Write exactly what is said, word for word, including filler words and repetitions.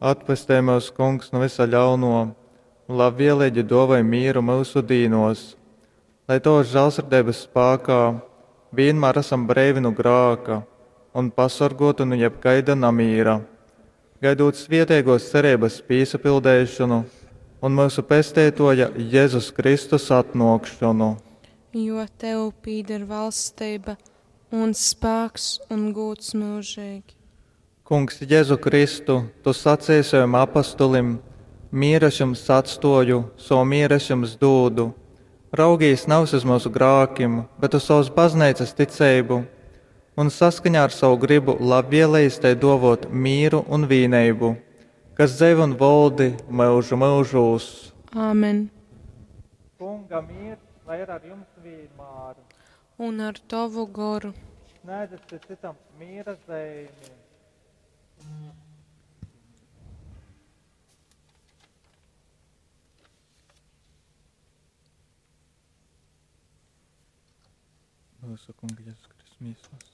Atpestej myus, Kungs, nu vysa ļaunuo un labvieleigi duovoj mīru myusu dīnuos, lai Tovys žālsirdeibys spākā vīnmār asam breivi nu grāka un pasorguoti nu jebkaida namīra, gaidūt svieteiguos cereibys pīsapildeišonu un myusu Pesteituoja Jezus Kristus atnuokšonu. Jo tev pīder valsteiba un spāks un gūds myužeigi. Kungs Jezu Kristu, Tu saceji sovim apostolim, Mīru es jums atstuoju, sovu mīru es jums dūdu. Raugīs navys uz myusu grākim, bet uz sovas bazneicas ticeibu, un saskaņā ar savu grybu labvielejas tai duovuot mīru un vīneibu, kas dzeivo un voldi myužu myužūs. Āmen. Kunga mīrs, lai ir ar jums vienmēr. Un ar tovu goru. Sniedzat cits citam mīra zeimi. Mūsu Kunga Jēzus Kristus mīslas.